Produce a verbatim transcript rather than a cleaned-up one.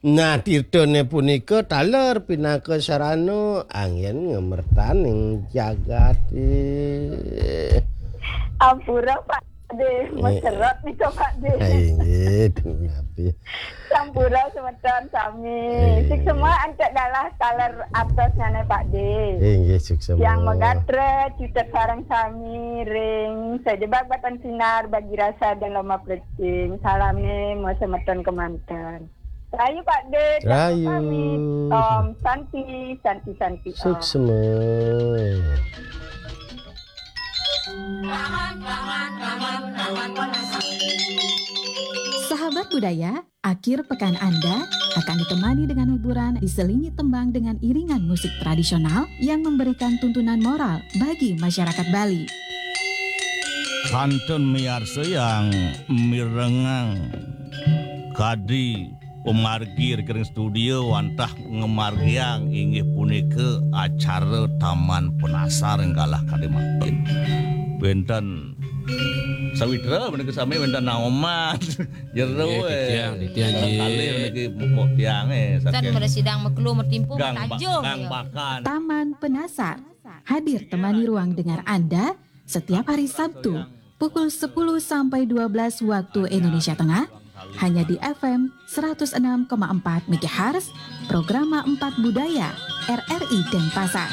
Nah, tirtane punika taler pinaka sarana anggen ngemertaning jagate. Ampura, Pak De, eh, meserot nika, Pak De. Inggih, punapi. Sampura semeton sami. Eh. Suksma antuk galah taler atosnyane, Pak De. Inggih, suksma. Yang megatra cutet sareng sami ring sajebag batan sinar bagi rasa dan loma plecing. Salame mo semeton kemanten. Rayu, Pak De, rayu. Pamit. Om Santi, Santi, Santi, Om. Suksma. Sahabat budaya, akhir pekan Anda akan ditemani dengan hiburan diselingi tembang dengan iringan musik tradisional yang memberikan tuntunan moral bagi masyarakat Bali. Kantun miarsa yang mirengang kadi pamargi ring studio wantah ngamargiang inggih punika acara Taman Penasar ring galah kadi mangkin. Wenten sawitra menika sami, wenten naoman. Jero, nggih, eh, titiang, titiang, nggih. Kalih niki muk tiang, eh, tan saking mresidang meklu metimpuh gang ba-, tanjung, gang ya. Bakan. Taman Penasar hadir temani ruang dengar Anda setiap hari Sabtu pukul sepuluh sampai dua belas waktu Indonesia Tengah, hanya di F M seratus enam koma empat megahertz, Programa empat Budaya, R R I Denpasar.